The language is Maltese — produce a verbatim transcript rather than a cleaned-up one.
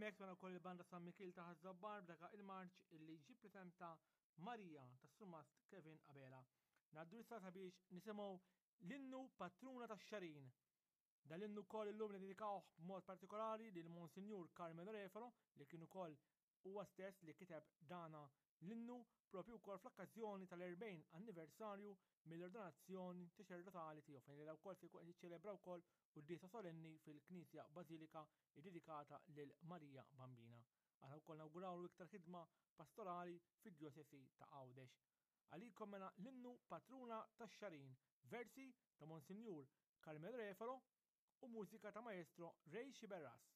Hemmhekk smajna wkoll il-banda San Mikiel ta' Ħaż-Żabbar b'daka il-marċ illi ġie preżenta Marija tas-Surmast Kevin Abela. Ngħaddu issa sabiex nisimgħu l-innu Patruna tax-Xagħrin. Dan l-innu wkoll illum niddedikawh b'mod partikolari lil Monsinjur Carmelo Refalo li kien ukoll huwa stess li kiteb dana l-innu propju wkoll fl-okkażjoni tal-erbgħin anniversarju mill-ordinazzjoni saċerdotali tiegħu fejn li wkoll se jkun qed jiċċelebra wkoll quddiesa solenni fil-Knisja Bażilika ddedikata lil Marija Bambina. Aħna wkoll nawgurawlu iktar ħidma pastorali fid-djosesi ta' Għawdex. Għalikom mela l-innu Patruna tax-Xagħrin, versi ta' Monsinjur Carmelo Refalo u mużika ta' Maestro Ray Sciberras.